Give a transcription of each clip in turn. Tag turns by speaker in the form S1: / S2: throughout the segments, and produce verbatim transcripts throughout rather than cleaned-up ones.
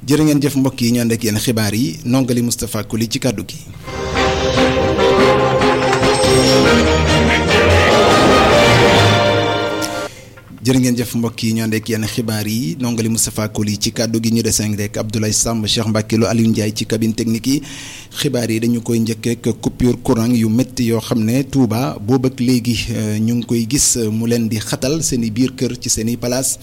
S1: jërë ngeen jëf mbokk yi ñu ànd ak yéen xibaar yi nongali Moustapha Koli ci kàddu gi. jërë ngeen jëf mbokk yi ñu ànd ak yéen xibaar yi nongali Moustapha Koli ci kàddu gi ñu deseng rek Abdoulaye Samb Cheikh Mbacke Lo Aliou Ndiaye ci cabine technique yi xibaar yi dañu koy njëkk ak coupure courant yu métti yoo xam ne Touba boobu ak léegi ñu ngi koy gis mu leen di xatal seen i biir kër ci seen i palaas.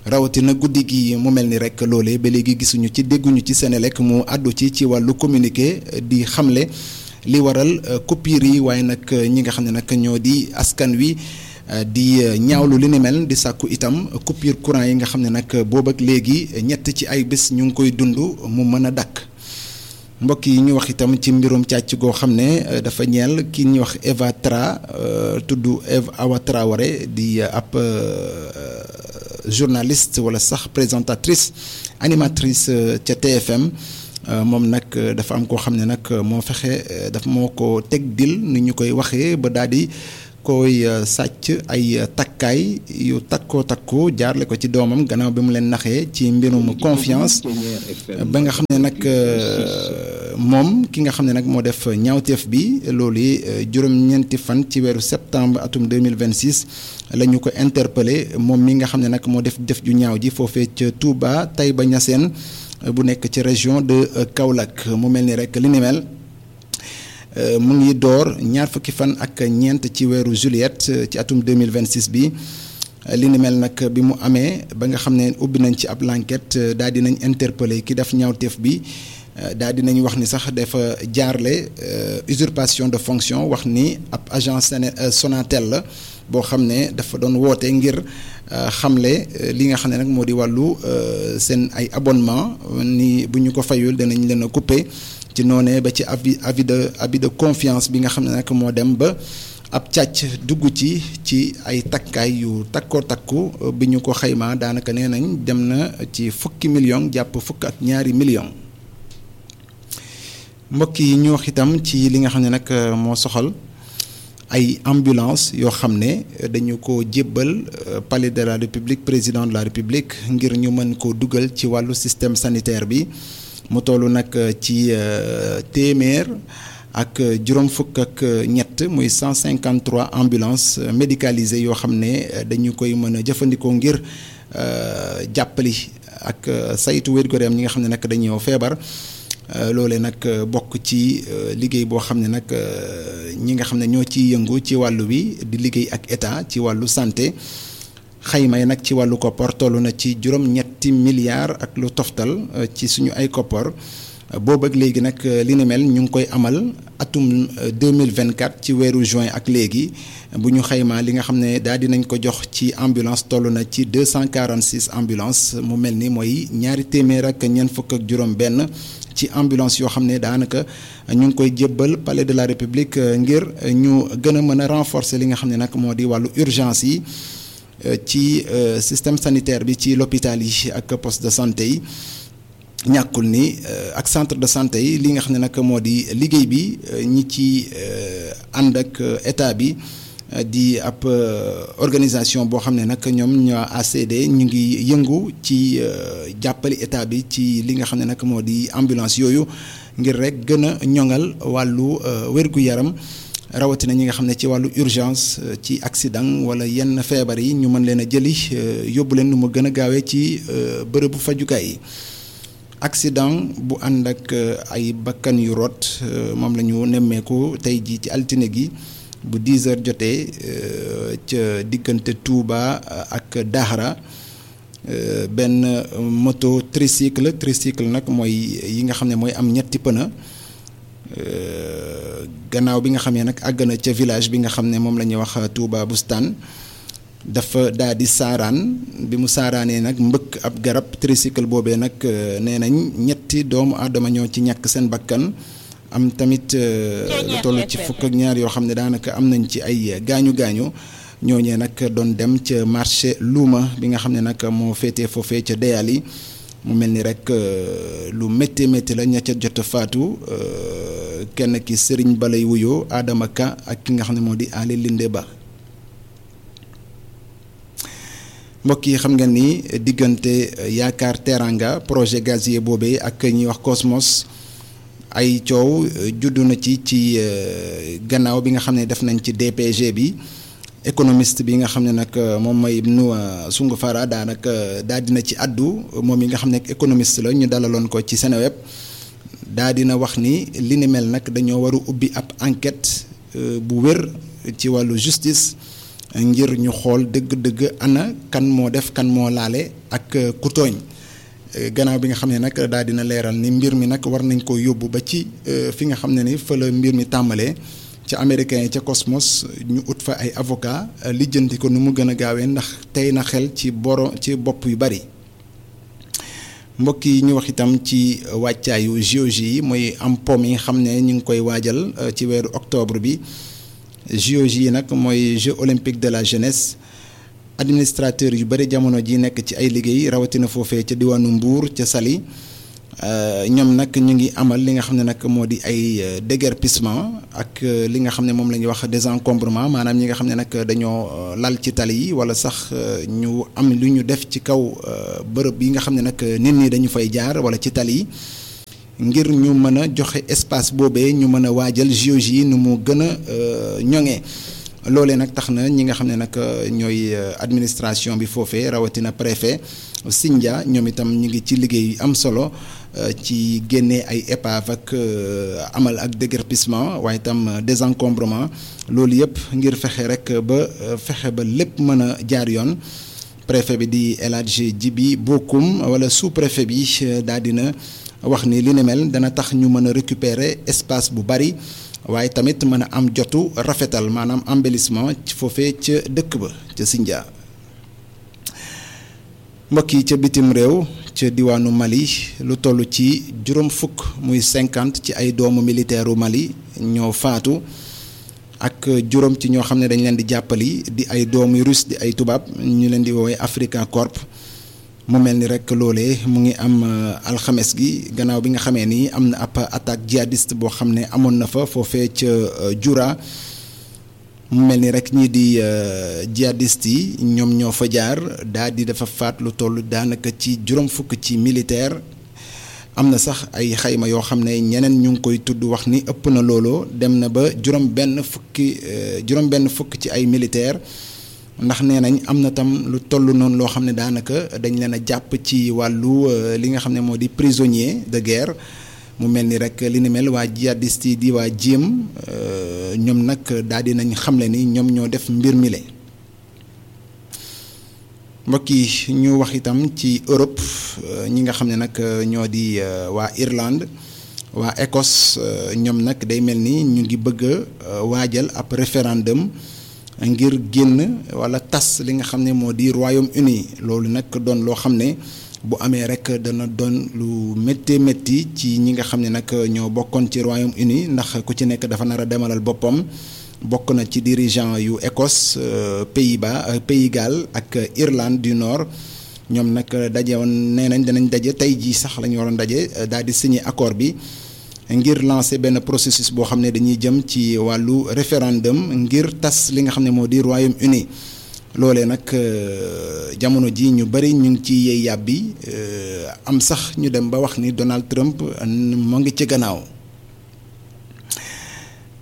S1: rawatina guddi gi mu mel ni rek loolee ba léegi gisuñu ci dégguñu ci Senelec mu àddu ci ci wàllu communiqué di xamle li waral coupure yi waaye nag ñi nga xam ne nag ñoo di askan wi di ñaawlu li ni mel di sàkku itam coupure courant yi nga xam ne nag boobu ak léegi ñett ci ay bés ñu ngi koy dund mu mën a dakk mbokk yi ñu wax itam ci mbirum càcc goo xam ne dafa ñeel ki ñuy wax Eva Tra tudd Eva Awa Traoré di ab journaliste wala sax présentatrice animatrice ca T F M moom nag dafa am koo xam ne nag moo fexe daf moo ko teg dil ni ñu koy waxee ba daal di koy sàcc ay takkaay yu takkoo takkoo jaarle ko ci doomam gannaaw bi mu leen naxee ci mbirum confiance ba nga xam ne nag moom ki nga xam ne nag moo def ñaawteef bi loolu juróom-ñeenti fan ci weeru septembre atum deux mille vingt-six la ñu ko interpellé moom mi nga xam ne nag moo def def ju ñaaw ji foofee ca Touba Taïba Niassène bu nekk ci région de Kaolack mu mel ni rek li ni mel mu ngi door ñaar fukki fan ak ñeent ci weeru juillet ci atum deux mille vingt-six bi li ni mel nag bi mu amee ba nga xam ne ubbi nañ ci ab l'enquête daal di nañ interpellé ki def ñaawteef bi daal di nañ wax ni sax dafa jaarle usurpation de fonction wax ni ab agent Sonatel la boo xam ne dafa doon woote ngir xamle li nga xam ne nag moo di wàllu seen ay abonnement ni bu ñu ko fayul danañ leen a couper ci noonee ba ci avis avis de avis de confiance bi nga xam ne nag moo dem ba ab càcc dugg ci ci ay takkaay yu takkoo takku bi ñu ko xaymaa daanaka nee nañ dem na ci fukki million jàpp fukk ak ñaari million mbokk yi ñu wax itam ci li nga xam ne nag moo soxal ay ambulance yoo xam ne dañu ko jébbal palais de la république président de la république ngir ñu mën ko dugal ci wàllu système sanitaire bi mu toll nag ci téeméer ak juróom fukk ak ñett muy cent cinquante trois ambulances médicalisées yoo xam ne dañu koy mën a jëfandikoo ngir jàppali ak saytu wér-gu-yaram ñi nga xam ne nag dañoo feebar loolee nag bokk ci liggéey boo xam ne nag ñi nga xam ne ñoo ciy yëngu ci wàllu wi di liggéey ak état ci wàllu santé xayma yi nag ci wàllu koppar toll na ci juróom-ñetti milliards ak lu toftal ci suñu ay koppar boobu ak léegi nag li ni mel ñu ngi koy amal atum deux mille vingt-quatre ci weeru juin ak léegi bu ñu xaymaa li nga xam ne daal dinañ ko jox ci ambulance toll na ci deux cent quarante-six ambulance mu mel ni mooy ñaari téeméer ak ñeent fukk ak juróom-benn ci ambulance yoo xam ne daanaka ñu ngi koy jébbal palais de la république ngir ñu gën a mën a renforcer li nga xam ne nag moo di wàllu urgence yi ci système sanitaire bi ci l'hôpital yi ak poste de santé yi ñàkkul ni ak centre de santé yi li nga xam ne nag moo di liggéey bi ñi ci ànd ak état bi di ab organisation boo xam ne nag ñoom ñoo A C D ñu ngi yëngu ci jàppali état bi ci li nga xam ne nag moo di ambulance yooyu ngir rek gën a ñoŋal wàllu wér-gu-yaram rawatina ñi nga xam ne ci wàllu urgence ci accident wala yenn feebar yi ñu mën leen a jëli yóbbu leen nu mu gën a gaawee ci bërëbu fajukaay yi accident bu ànd ak ay bakkan yu rot moom la ñu nemmeeku tey jii ci altine gi bu dix heures jotee ca diggante Touba ak Daxara benn moto tricycle tricycle nag mooy yi nga xam ne mooy am ñetti pëna gannaaw bi nga xam ne nag àgg na ca village bi nga xam ne moom la ñuy wax Touba Bustaan dafa daal di saaraan bi mu saaraanee nag mbëkk ab garab tricycle boobee nag nee nañ ñetti doomu aadama ñoo ci ñàkk seen bakkan am tamit lu toll ci fukk ak ñaar yoo xam ne daanaka am nañ ci ay gaañu gaañu ñooñee nag doon dem ca marché luuma bi nga xam ne nag moo féetee foofee ca Deyali mu mel ni rek lu métti métti la ña ca jot a faatu kenn ki Serigne Balay wuyoo Adama Ka ak ki nga xam ne moo di Ali Linde Ba mbokk yi xam ngeen ni diggante Yaakaar Teranga projet gazier boobee ak ñuy wax Cosmos ay coow juddu na ci ci gannaaw bi nga xam ne def nañ ci D P G bi économiste bi nga xam ne nag moom mooy Ibnou Soungou-Fara daanaka daal dina ci addu moom yi nga xam ne économiste la ñu dalaloon ko ci Seneweb daal dina wax ni li ni mel nag dañoo war a ubbi ab enquête bu wér ci wàllu justice ngir ñu xool dëgg-dëgg ana kan moo def kan moo laale ak ku tooñ gannaaw bi nga xam ne nag daal dina leeral ni mbir mi nag war nañ ko yóbbu ba ci fi nga xam ne ni fa la mbir mi tàmbalee ca américain yi ca Cosmos ñu ut fa ay avocat lijjanti ko nu mu gën a gaawee ndax tey na xel ci boro ci bopp yu bari mbokk yi ñu wax itam ci wàccaayu J O J yi mooy am pom yi nga xam ne ñu ngi koy waajal ci weeru octobre bi J O J yi nag mooy Jeux olympiques de la jeunesse administrateur yu bari jamono ji nekk ci ay liggéey rawatina foofee ca diwaanu Mbour ca Saly ñoom nag ñu ngi amal li nga xam ne nag moo di ay déguerpissement ak li nga xam ne moom la ñuy wax désencombrement maanaam ñi nga xam ne nag dañoo lal ci tali yi wala sax ñu am lu ñu def ci kaw bërëb yi nga xam ne nag nit ñi dañu fay jaar wala ci tali yi ngir ñu mën a joxe espace boobee ñu mën a waajal J O J yi nu mu gën a ñoŋee loolee nag tax na ñi nga xam ne nag ñooy administration bi foofee rawatina préfet Sindia ñoom itam ñu ngi ci liggéey yu am solo ci génnee ay épave ak amal ak déguerpissement waaye itam désencombrement loolu yëpp ngir fexe rek ba fexe ba lépp mën a jaar yoon préfet bi di El Hadji Djibi Bokoum wala sous préfet bi daal dina wax ni li ni mel dana tax ñu mën a récupérer espace bu bari waaye tamit mën a am jotu rafetal maanaam embellissement ci foofee ca dëkk ba ca Sindia mbokk yi ca bitim réew ca diwaanu Mali lu toll ci juróom fukk muy cinquante ci ay doomu militaire u Mali ñoo faatu ak juróom ci ñoo xam ne dañ leen di jàppali di ay doomu russe di ay tubaab ñu leen di woowee Africa Corp mu mel ni rek loolee mu ngi am alxames gi gannaaw bi nga xamee ni am na ab attaque djihadiste boo xam ne amoon na fa foofee ca Jura mu mel ni rek ñii di djihadiste yi ñoom ñoo fa jaar daal di dafa faat lu toll daanaka ci juróom fukk ci militaire am na sax ay xayma yoo xam ne ñeneen ñu ngi koy tudd wax ni ëpp na looloo dem na ba juróom benn fukki juróom benn fukk ci ay militaire ndax nee nañ am na tam lu toll noonu loo xam ne daanaka dañ leen a jàpp ci wàllu li nga xam ne moo di prisonnier de guerre mu mel ni rek li ni mel waa djihadiste yi di waa jéem ñoom nag daal di nañ xamle ni ñoom ñoo def mbir mi le mbokk yi ñu wax itam ci Europe ñi nga xam ne nag ñoo di waa Irlande waa Écosse ñoom nag day mel ni ñu ngi bëgg a waajal ab référendum ngir génn wala tas li nga xam ne moo di Royaume-Uni loolu nag doon loo xam ne bu amee rek dana doon lu métti métti ci ñi nga xam ne nag ñoo bokkoon ci Royaume-Uni ndax ku ci nekk dafa nar a demalal boppam bokk na ci dirigeant yu Écosse Pays-Bas Pays Galles ak Irlande du Nord ñoom nag daje woon nee nañ danañ daje tey jii sax la ñu waroon daje daal di signer accord bi ngir lancer benn processus boo xam ne dañuy jëm ci wàllu référendum ngir tas li nga xam ne moo di Royaume-Uni loolee nag jamono ji ñu bari ñu ngi ci yey yàbbi am sax ñu dem ba wax ni Donald Trump moo ngi ci gannaaw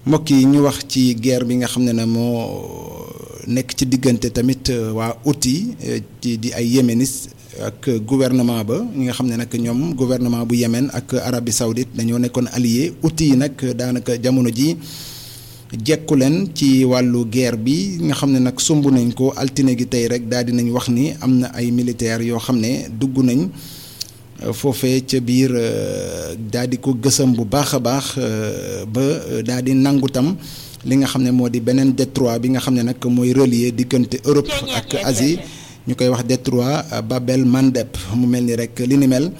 S1: mbokk yi ñu wax ci guerre bi nga xam ne ne moo nekk ci diggante tamit waa Houthi ci di ay yéménis ak gouvernement ba ñi nga xam ne nag ñoom gouvernement bu Yémen ak Arabie Saoudite dañoo nekkoon allié Houthi yi nag daanaka jamono ji jekku leen ci wàllu guerre bi nga xam ne nag sumb nañ ko altine gi tey rek daal di nañ wax ni am na ay militaires yoo xam ne dugg nañ foofee ca biir daal di ko gësam bu baax a baax ba daal di nangu tam li nga xam ne moo di beneen détroit bi nga xam ne nag mooy relier diggante Europe ak Asie ñu koy wax détroit Bab el Mandeb mu mel ni rek li ni mel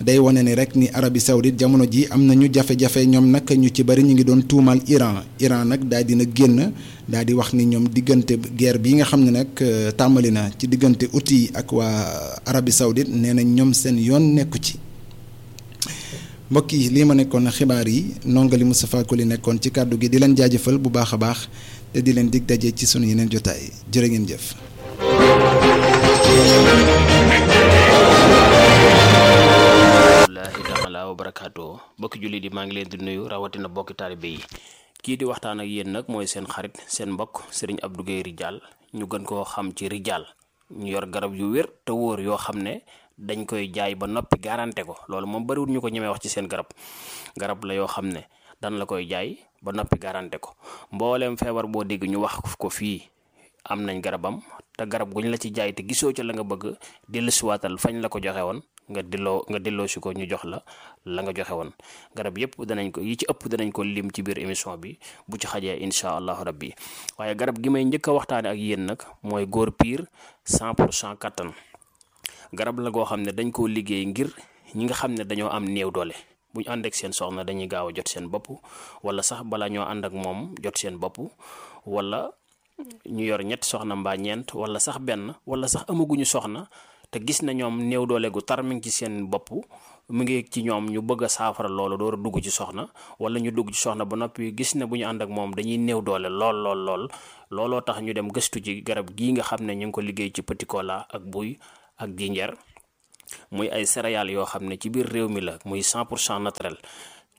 S1: day wane ni rek ni Arabie Saoudite jamono ji am nañu jafe-jafe ñoom nag ñu ci bari ñu ngi doon tuumal Iran Iran nag daal dina génn daal di wax ni ñoom diggante guerre bi nga xam ne nag tàmbali na ci diggante Houthi ak waa Arabie Saoudite nee nañ ñoom seen yoon nekku ci mbokk yi lii ma nekkoon xibaar yi nongali Moustapha Koli nekkoon ci kàddu gi di leen jaajëfal bu baax a baax te di leen dig daje ci sunu yeneen jotaay jërë ngeen jëf.
S2: taala wa barakaatu bokki julli di maa ngi leen di nuyu rawatina bokki taalibe yi kii di waxtaan ak yéen nag mooy seen xarit seen mbokk Serigne Abdou Guèye Ridial ñu gën koo xam ci Ridial ñu yor garab yu wér te wóor yoo xam ne dañ koy jaay ba noppi garanté ko loolu moom bariwul ñu ko ñemee wax ci seen garab garab la yoo xam ne dan la koy jaay ba noppi garanté ko mbooleem feebar boo dégg ñu wax ko fii am nañ garabam te garab guñ la ci jaay te gisoo ca la nga bëgg dellusiwaatal fañ la ko joxe woon nga delloo nga delloo si ko ñu jox la la nga joxe woon garab yëpp danañ ko yi ci ëpp danañ ko lim ci biir émission bi bu ci xajee incha allahu rabbi waaye garab gi may njëkk a waxtaane ak yéen nag mooy góor piir cent pour cent kattan garab la goo xam ne dañ koo liggéey ngir ñi nga xam ne dañoo am néew doole bu ñu ànd ak seen soxna dañuy gaaw a jot seen bopp wala sax bala ñoo ànd ak moom jot seen bopp wala ñu yor ñett soxna mbaa ñeent wala sax benn wala sax amaguñu soxna te gis na ñoom néew doole gu tar mi ngi ci seen bopp mu ngi ci ñoom ñu bëgg a saafara loolu door a dugg ci soxna wala ñu dugg ci soxna ba noppi gis ne bu ñu ànd ak moom dañuy néew doole lool lool lool looloo tax ñu dem gëstu ci garab gii nga xam ne ñu ngi ko liggéey ci petit cola ak buy ak jinjeer muy ay céréales yoo xam ne ci biir réew mi la muy cent pour cent naturel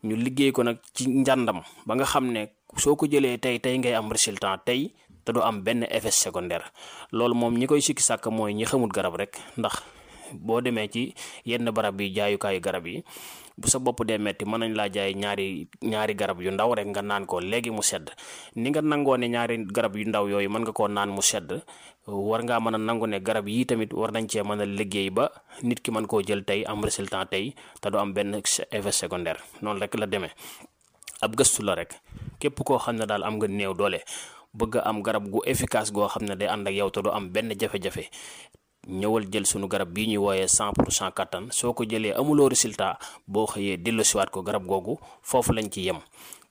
S2: ñu liggéey ko nag ci njàndam ba nga xam ne soo ko jëlee tey tey ngay am résultat tey te du am benn effet secondaire loolu moom ñi koy sikki sàkk mooy ñi xamul garab rek ndax boo demee ci yenn barab yi jaayukaayu garab yi bu sa bopp dee metti mën nañ laa jaay ñaari ñaari garab yu ndaw rek nga naan ko léegi mu sedd ni nga nangoo ne ñaari garab yu ndaw yooyu mën nga koo naan mu sedd war ngaa mën a nangu ne garab yii tamit war nañ cee mën a liggéey ba nit ki mën koo jël tey am résultat tey te du am benn effet secondaire noonu rek la demee ab gëstu la rek képp koo xam ne daal am nga néew doole bëgg am garab gu efficace goo xam ne day ànd ak yow te du am benn jafe-jafe ñëwal jël sunu garab bii ñuy wooyee cent pour cent kattan soo ko jëlee amuloo résultat boo xëyee delloosiwaat ko garab googu foofu lañ ci yem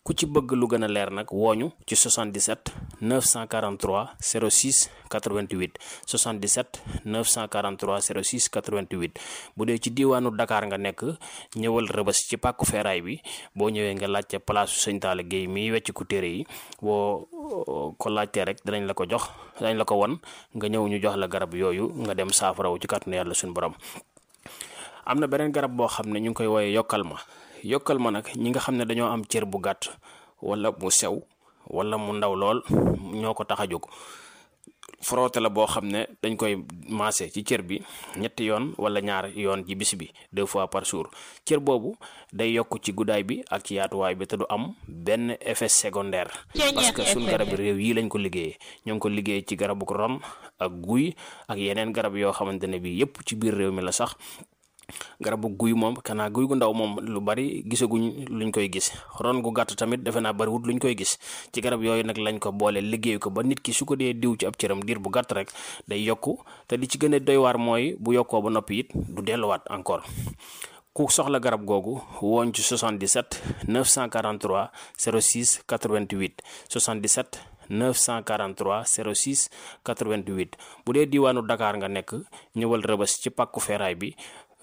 S2: ku ci bëgg lu gën a leer nag wooñu ci soixante-dix-sept neuf cent quarante-trois zéro six quatre-vingt-huit soixante-dix-sept neuf cent quarante-trois zéro six quatre-vingt-huit bu dee ci diiwaanu Dakar nga nekk ñëwal Rëbës ci pàkku feeraay bi boo ñëwee nga laajte place Sëñ Talla Guèye miy wecc ku téere yi boo ko laajtee rek danañ la ko jox danañ la ko won nga ñëw ñu jox la garab yooyu nga dem saafarawu ci kàttanu yàlla suñu borom. am na beneen garab boo xam ne ñu ngi koy wooyee yokkal ma yokkal ma nag ñi nga xam ne dañoo am cër bu gàtt wala mu sew wala mu ndaw lool ñoo ko tax a jóg frotté la boo xam ne dañ koy maase ci cër bi ñetti yoon wala ñaar yoon ci bis bi deux fois par jour cër boobu day yokk ci guddaay bi ak ci yaatuwaay bi te du am benn effet secondaire parce que suñ garab réew yi lañ ko liggéeyee ñoo ngi ko liggéey ci garabu ron ak guy ak yeneen garab yoo xamante ne bi yépp ci biir réew mi la sax garabu guy moom kanaa guy gu ndaw moom lu bari gisaguñ luñ koy gis ron gu gàtt tamit defe naa bariwut luñ koy gis ci garab yooyu nag lañ ko boole liggéey ko ba nit ki su ko dee diw ci ab cëram diir bu gàtt rek day yokku te li ci gën a doy waar mooy bu yokkoo ba noppi it du delluwaat encore ku soxla garab googu woon ci soixante-dix-sept neuf cent quarante-trois zéro six quatre-vingt-huit soixante-dix-sept neuf cent quarante-trois zéro six quatre-vingt-huit bu dee diiwaanu Dakar nga nekk ñëwal Rëbës ci pàkku feeraay bi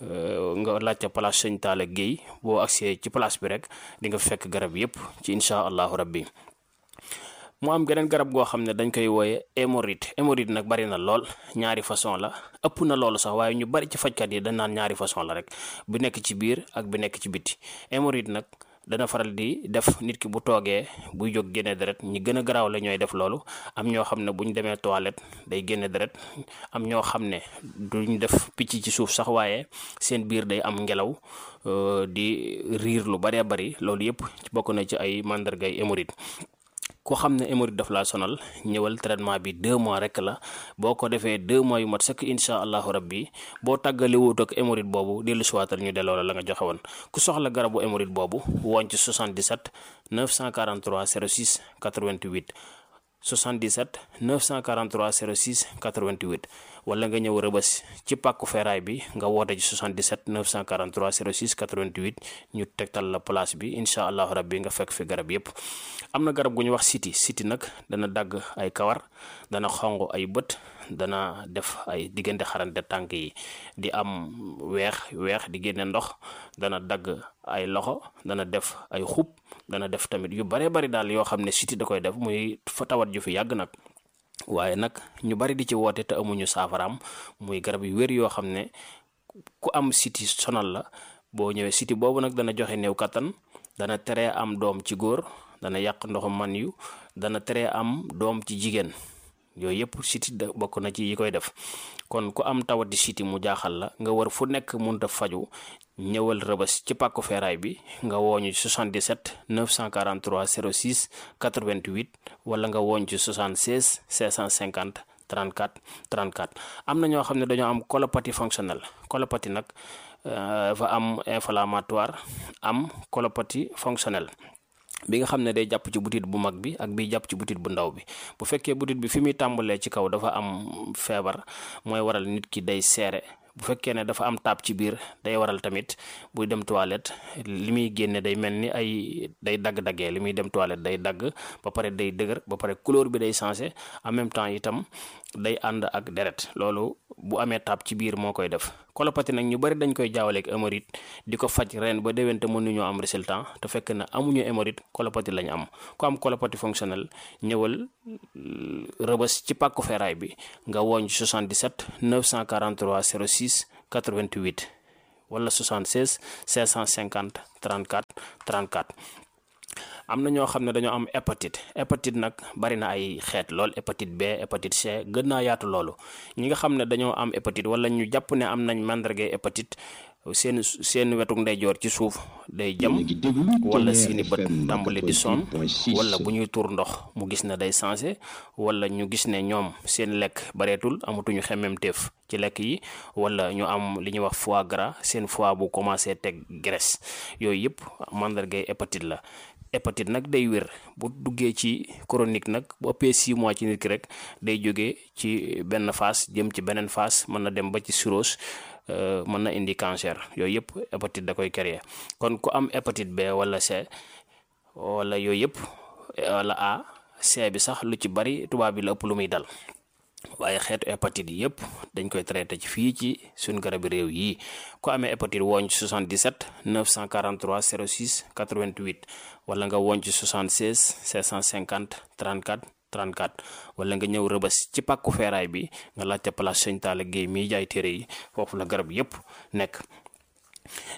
S2: nga laajte place Sëñ Talla Guèye boo agsee ci place bi rek di nga fekk garab yépp ci incha allahu rabbi mu am geneen garab goo xam ne dañ koy wooye hémorroïde hémorroïde nag bari na lool ñaari façon la ëpp na loolu sax waaye ñu bari ci fajkat yi dañ naan ñaari façon la rek bu nekk ci biir ak bu nekk ci biti hémorroïde nag dana faral di def nit ki bu toogee buy jóg génne deret ñi gën a garaaw la ñooy def loolu am ñoo xam ne bu ñu demee toilette day génne deret am ñoo xam ne duñ def picc ci suuf sax waaye seen biir day am ngelaw di riir lu baree bari loolu yëpp bokk na ci ay màndargay hémorroïde ku xam ne hémorroïde daf laa sonal ñëwal traitement bi deux mois rek la boo ko defee deux mois yu mat sëkk incha allahu rabbi boo tàggale wut ak hémorroïde boobu dellu siwaatal ñu delloo la la nga joxe woon ku soxla garabu hémorroïde boobu woon ci soixante-dix-sept neuf cent quarante-trois zéro six quatre-vingt-huit soixante-dix-sept neuf cent quarante-trois zéro six quatre-vingt-huit wala nga ñëw Rëbës ci pàkku feeraay bi nga woote ci soixante-dix-sept neuf cent quarante-trois zéro six quatre-vingt-huit ñu tegtal la place bi incha allahu rabbi nga fekk fi garab yépp am na garab gu ñu wax siti siti nag dana dagg ay kawar dana xonq ay bët dana def ay diggante xarante tànk yi di am weex weex di génne ndox dana dagg ay loxo dana def ay xub dana def tamit yu bare bari daal yoo xam ne siti da koy def muy fa tawat ju fi yàgg nag waaye nag ñu bari di ci woote te amuñu saafaraam muy garab yu wér yoo xam ne ku am siti sonal la boo ñëwee siti boobu nag dana joxe néew kattan, dana tere am doom ci góor, dana yàq ndoxum man yu, dana tere am doom ci jigéen. yooyu yëpp siti da bokk na ci yi koy def. kon ku am tawati siti mu jaaxal la nga war fu nekk mënut a faju, ñëwal Rëbës ci pàkku feeraay bi nga wooñu ci soixante-dix-sept neuf cent quarante-trois zéro six quatre-vingt-huit wala nga wooñ ci soixante-seize cinq cent cinquante trente-quatre trente-quatre. am na ñoo xam ne dañoo am colopathie fonctionnelle. colopathie nag dafa am inflammatoire am colopathie fonctionnelle bi nga xam ne day jàpp ci butit bu mag bi ak bi jàpp ci butit bu ndaw bi. bu fekkee butit bi fi muy tàmbalee ci kaw dafa am feebar mooy waral nit ki day seere. bu fekkee ne dafa am taab ci biir day waral tamit buy dem toilette li muy génne day mel ni ay day dagg-daggee li muy dem toilette day dagg ba pare day dëgër ba pare couleur bi day changé en même temps itam day ànd ak deret. loolu bu amee taab ci biir moo koy def. colopathie nag ñu bari dañ koy jaawaleeg hémorroïde di ko faj ren ba déwén te mënuñoo am résultat te fekk na amuñu hémorroïde colopathie lañ am. ku am colopathie fonctionnelle ñëwal Rëbës ci pàkku feeraay bi nga wooñ soixante-dix-sept neuf cent quarante-trois zéro six quatre-vingt-huit wala soixante-seize cinq cent cinquante trente-quatre trente-quatre. am na ñoo xam ne dañoo am hépatite. hépatite nag bari na ay xeet lool, hépatite B, hépatite C, gën naa yaatu loolu. ñi nga xam ne dañoo am hépatite wala ñu jàpp ne am nañ màndargay hépatite seen seen wetuk ndeyjoor ci suuf day jam wala seeni bët tàmbali di sonn wala bu ñuy tuur ndox mu gis ne day changé wala ñu gis ne ñoom seen lekk bareetul amatuñu xemmemteef ci lekk yi wala ñu am li ñuy wax foie gras seen foie bu commencé teg graisse. yooyu yëpp màndargay hépatite la. hépatite nag day wér bu duggee ci chronique nag bu ëppee six mois ci nit ki rek day jógee ci benn phase jëm ci beneen phase mën na dem ba ci cirrhose mën na indi cancer. yooyu yëpp hépatite da koy créer. kon ku am hépatite B wala C wala yooyu yëpp wala A C bi sax lu ci bari tubaab bi la ëpp lu muy dal. waaye xeetu hépatite yi yëpp dañ koy traité ci fii ci suñ garabi réew yi. ku amee hépatite wooñ ci soixante-dix-sept neuf cent quarante-trois zéro six quatre-vingt-huit wala nga wooñ ci soixante-seize cinq cent cinquante trente-quatre trente-quatre wala nga ñëw Rëbës ci pàkku feeraay bi nga laajte place Sëñ Talla Guèye miy jaay téere yi foofu la garab yëpp nekk.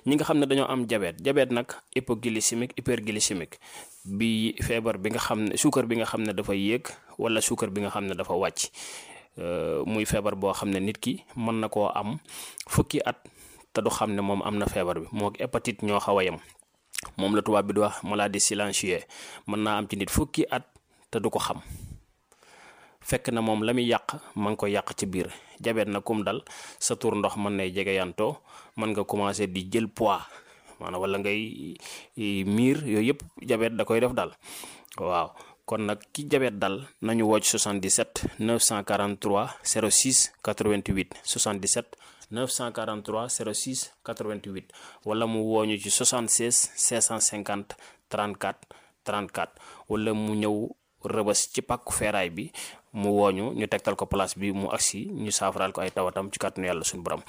S2: ñi nga xam ne dañoo am diabète diabète nag hypoglycémique hyperglycémique bi feebar bi nga xam ne suukar bi nga xam ne dafa yéeg wala suukar bi nga xam ne dafa wàcc. muy feebar boo xam ne nit ki mën na koo am fukki at te du xam ne moom am na feebar bi. moo hépatite ñoo xaw a yem moom la tubaab bi di wax maladie silencieuse. mën naa am ci nit fukki at te du ko xam fekk na moom la muy yàq ma ngi ko yàq ci biir. jabet na kum dal sa tur ndox mën nay jege yantoo mën nga commencé di jël poids maanaam wala ngay miir yooyu yëpp jabet da koy def dal waaw. kon nag ki jabet dal nañu wocc soixante-dix-sept neuf cent quarante-trois zéro six quatre-vingt-huit soixante-dix-sept neuf cent quarante-trois zéro six quatre-vingt-huit wala mu wooñu ci soixante-seize cinq cent cinquante trente-quatre trente-quatre wala mu ñëw Rëbës ci pàkku feeraay bi mu wooñu ñu tegtal ko place bi mu agsi ñu saafaraal ko ay tawatam ci kàttanu yàlla suñu borom.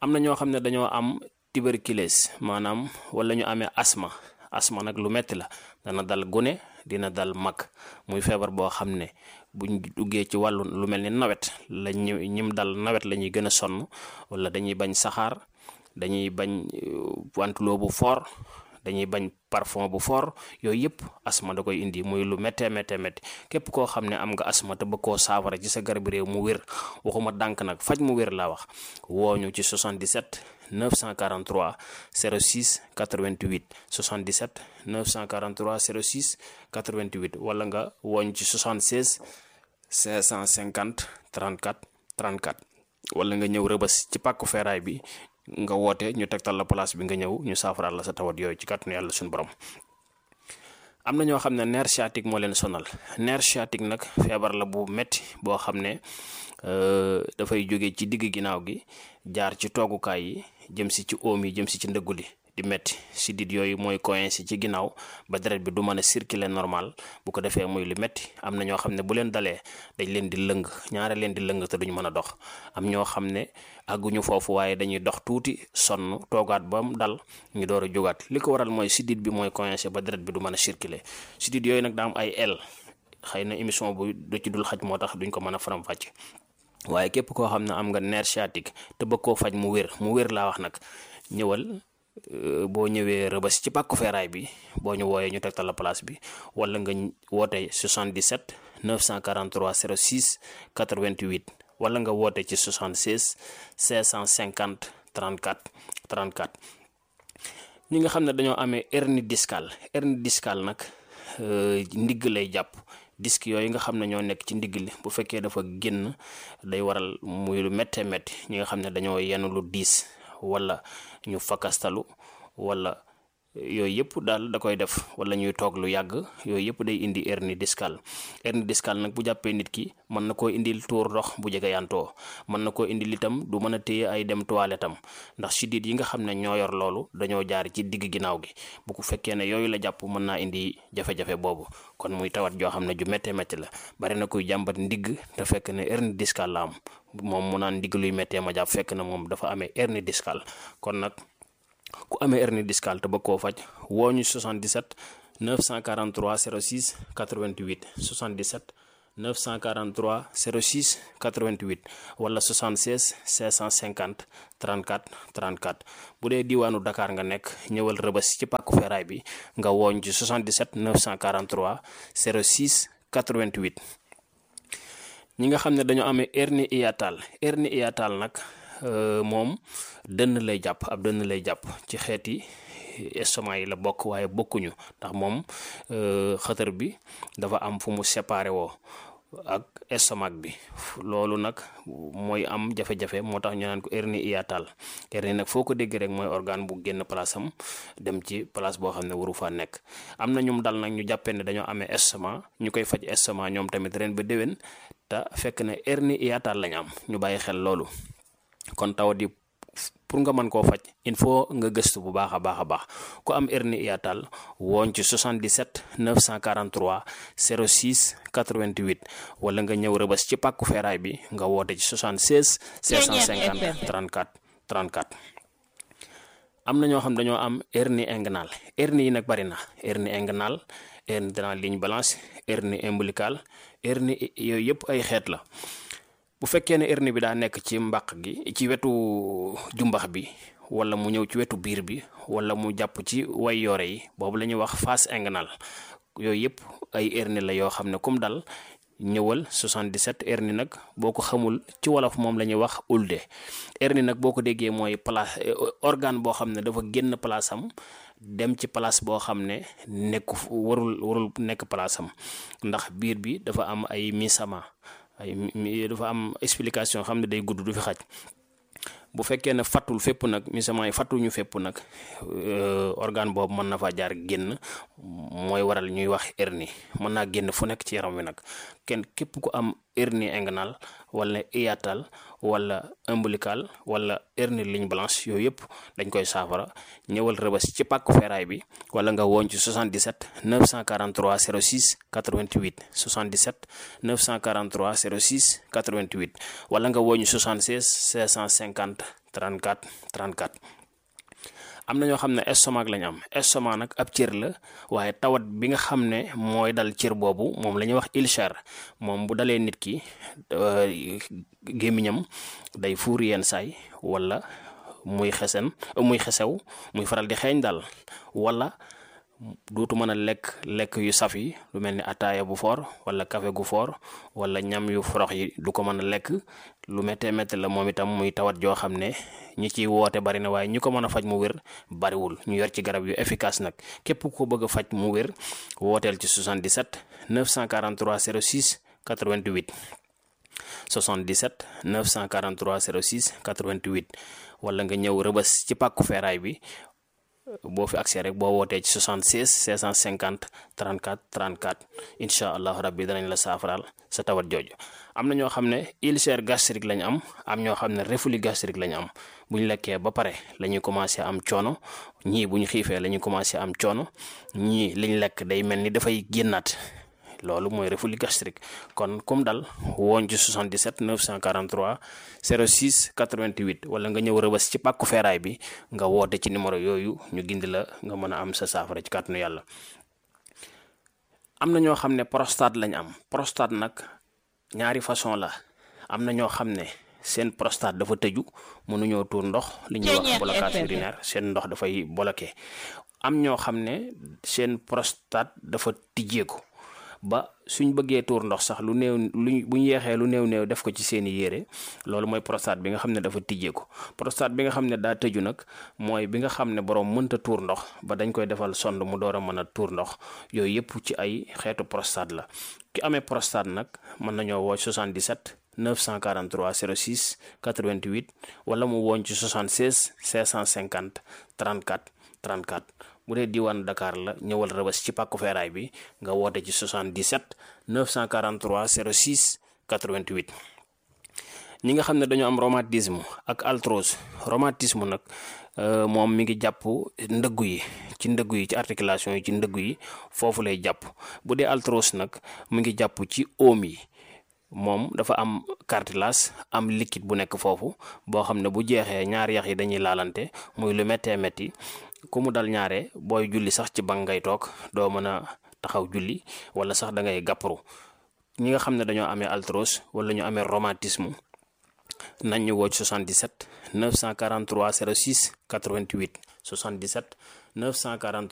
S2: am na ñoo xam ne dañoo am tuberculose maanaam wala ñu amee asma. asma nag lu metti la dana dal gune dina dal mag muy feebar boo xam ne buñ duggee ci wàllu lu mel ni nawet la ñu ñim dal nawet la ñuy gën a sonn wala dañuy bañ saxaar dañuy bañ wantuloo bu fort dañuy bañ parfum bu fort yooyu yëpp asma da koy indi muy lu méttee méttee métti. képp koo xam ne am nga asma te bëgg koo saafara ci sa garab réew mu wér waxuma dànk nag faj mu wér laa wax wooñu ci soixante-dix-sept neuf cent quarante-trois zéro six quatre-vingt-huit soixante-dix-sept neuf cent quarante-trois zéro six quatre-vingt-huit wala nga wooñ ci soixante-seize cinq cent cinquante trente-quatre trente-quatre wala nga ñëw Rëbës ci pàkku feeraay bi nga woote ñu tegtal la place bi nga ñëw ñu saafaraal la sa tawat yooyu ci kàttanu yàlla suñu borom. am na ñoo xam ne nerf sciatique moo leen sonal. nerf sciatique nag feebar la bu metti boo xam ne dafay jóge ci digg ginnaaw gi jaar ci toogukaay yi jëm si ci oom yi jëm si ci ndëggu li di metti sidit yooyu mooy coincé ci ginnaaw ba deret bi du mën a circuler normal bu ko defee muy lu metti. am na ñoo xam ne bu leen dalee dañ leen di lëng ñaare leen di lëng te duñu mën a dox. am ñoo xam ne àgguñu foofu waaye dañuy dox tuuti sonn toogaat ba mu dal ñu door a jógaat. li ko waral mooy sidit bi mooy coincé ba deret bi du mën a circuler. sidit yooyu nag daa am ay aile xëy na émission bu du ci dul xaj moo tax duñ ko mën a faram-fàcce waaye képp koo xam ne am nga nerf sciatique te bëgg koo faj mu wér mu wér laa wax nag ñëwal boo ñëwee Rëbës ci pàkku feeraay bi boo ñu wooyee ñu tegtal la place bi wala nga woote soixante-dix-sept neuf cent quarante-trois zéro six quatre-vingt-huit wala nga woote ci soixante-seize cinq cent cinquante trente-quatre trente-quatre. ñi nga xam ne dañoo amee hernie discale hernie discale nag ndigg lay jàpp disque yooyu nga xam ne ñoo nekk ci ndigg li bu fekkee dafa génn day waral muy lu méttee métti ñi nga xam ne dañoo yenn lu diis wala ñu fakastalu wala yooyu yëpp daal da koy def wala ñuy toog lu yàgg yooyu yëpp day indi hernie discale hernie discale nag bu jàppee nit ki mën na koo indil tuur ndox bu jege yantoo mën na koo indil itam du mën a téye ay dem toilette am ndax siddiit yi nga xam ne ñoo yor loolu dañoo jaar ci digg ginnaaw gi bu ko fekkee ne yooyu la jàpp mën naa indi jafe-jafe boobu kon muy tawat joo xam ne ju méttee métti la bari na kuy jàmbat ndigg te fekk ne hernie discale la am moom mu naan ndigg luy méttee ma jàpp fekk na moom dafa amee hernie discale kon nag ku amee hernie discale te bëgg koo faj woo ñu soixante-dix-sept neuf cent quarante-trois zéro six quatre-vingt-huit soixante-dix-sept neuf cent quarante-trois zéro six quatre-vingt-huit wala soixante-seize cinq cent cinquante trente-quatre trente-quatre bu dee diwaanu Dakar nga nekk ñëwal Rëbës ci pàkku feeraay bi nga wooñ ci soixante-dix-sept neuf cent quarante-trois zéro six quatre-vingt-huit. ñi nga xam ne dañoo amee hernie hiatale hernie hiatale nag moom dënn lay jàpp ab dënn lay jàpp ci xeeti estomac yi la bokk waaye bokkuñu ndax moom xëtër bi dafa am fu mu séparé woo ak estomac bi loolu nag mooy am jafe-jafe moo tax ñu naan ko hernie hiatale hernie nag foo ko dégg rek mooy organe bu génn place am dem ci place boo xam ne waru faa nekk. am na ñum dal nag ñu jàppee ne dañoo amee estomac ñu koy faj estomac ñoom tamit ren ba déwén te fekk ne hernie hiatale lañ am ñu bàyyi xel loolu. kon tawat yi pour nga mën koo faj il faut nga gëstu bu baax a baax a baax ku am hernie hiatale wooñ ci soixante-dix-sept neuf cent quarante-trois zéro six quatre-vingt-huit wala nga ñëw Rëbës ci pàkku feeraay bi nga woote ci soixante-seize cinq cent cinquante trente-quatre trente-quatre. am na ñoo xam dañoo am hernie inguinale hernie yi nag bari na hernie inguinale hernie de la ligne blanche hernie ombilicale hernie yooyu yëpp ay xeet la. bu fekkee ne hernie bi daa nekk ci mbàq gi ci wetu jumbax bi wala mu ñëw ci wetu biir bi wala mu jàpp ci way yore yi boobu la ñuy wax face inguinale yooyu yëpp ay hernie la yoo xam ne comme dal ñëwal soixante-dix-sept hernie nag boo ko xamul ci wolof moom la ñuy wax ulde hernie nag boo ko déggee mooy place organe boo xam ne dafa génn place am dem ci place boo xam ne nekku warul warul nekk place am ndax biir bi dafa am ay misama ay dafa am explication xam ne day gudd du fi xaj bu fekkee ne fattul fépp nag misament yi fattuñu fépp nag organe boobu mën na faa jaar génn mooy waral ñuy wax hernie mën naa génn fu nekk ci yaram wi nag kenn képp ku am hernie inguinale wala hiatale wala ombilical wala hernie ligne blanche yooyu yëpp dañ koy saafara ñëwal Rëbës ci pàkku feeraay bi wala nga woon ci soixante-dix-sept neuf cent quarante-trois zéro six quatre-vingt-huit soixante-dix-sept neuf cent quarante-trois zéro six quatre-vingt-huit wala nga woon ci soixante-seize cinq cent cinquante trente-quatre trente-quatre. am na ñoo xam ne estomac lañ am estomac nag ab cër la waaye tawat bi nga xam ne mooy dal cër boobu moom la ñuy wax ulcère moom bu dalee nit ki gémmiñam day fuur yenn saay wala muy xesen muy xesew muy faral di xeeñ daal wala dootu mën a lekk lekk yu saf yi lu mel ni ataaya bu foor wala café gu foor wala ñam yu forox yi du ko mën a lekk lu méttee métti la moom itam muy tawat joo xam ne ñi ciy woote bari na waaye ñi ko mën a faj mu wér bariwul ñu yor ci garab yu efficace nag képp ko bëgg a faj mu wér wooteel ci soixante-dix-sept neuf cent quarante-trois zéro six quatre-vingt-huit soixante-dix-sept neuf cent quarante-trois zéro six quatre-vingt-huit wala nga ñëw Rëbës ci pàkku feeraay bi boo fi accès rek boo wootee ci soixante-seize cinq cent cinquante trente-quatre trente-quatre incha allah rabbi danañ la saafaraal sa tawat jooju. am na ñoo xam ne ulcère gastrique lañ am am ñoo xam ne reflux gastrique lañ am bu ñu lekkee ba pare la ñuy commencé am coono ñii bu ñu xiifee la ñuy commencé am coono ñii liñ lekk day mel ni dafay génnaat loolu mooy reflux gastrique kon comme dal woon ci soixante-dix-sept neuf cent quarante-trois zéro six quatre-vingt-huit wala nga ñëw Rëbës ci pàkku feeraay bi nga woote ci numéro yooyu ñu gindi la nga mën a am sa saafara ci kàttanu yàlla. am na ñoo xam ne prostate lañ am. prostate nag ñaari façon la. am na ñoo xam ne seen prostate dafa tëju mënuñoo tuur ndox li ñuy wax blocage urinaire seen ndox dafay bloqué. am ñoo xam ne seen prostate dafa tijjeeku ba suñ bëggee tuur ndox sax lu néew luñ buñ yeexee lu néew néew def ko ci seeni yére loolu mooy prostate bi nga xam ne dafa tijjeeku. prostate bi nga xam ne daa tëju nag mooy bi nga xam ne borom mënta tuur ndox ba dañ koy defal sonde mu door a mën a tuur ndox yooyu yëpp ci ay xeetu prostate la. ki amee prostate nag mën nañoo woo soixante-dix-sept neuf cent quarante-trois zéro six quatre-vingt-huit wala mu wooñ ci soixante-seize cinq cent cinquante trente-quatre trente-quatre. bu dee diwaan Dakar la ñëwal Rëbës ci pàkku feeraay bi nga woote ci soixante-dix-sept neuf cent quarante-trois zéro six quatre-vingt-huit. ñi nga xam ne dañoo am rhumatisme ak arthrose. rhumatisme nag moom mi ngi jàpp ndëggu yi ci ndëggu yi ci articulation yi ci ndëggu yi foofu lay jàpp. bu dee arthrose nag mi ngi jàpp ci oom yi. moom dafa am cartilage am liquide bu nekk foofu boo xam ne bu jeexee ñaari yax yi dañuy laalante muy lu méttee métti ku mu dal ñaare booy julli sax ci bank ngay toog doo mën a taxaw julli wala sax da ngay gàpparu. ñi nga xam ne dañoo amee arthrose wala ñu amee rhumatisme nañ ñu woo ci soixante-dix-sept neuf cent quarante-trois zéro six quatre-vingt-huit soixante-dix-sept neuf cent quarante-trois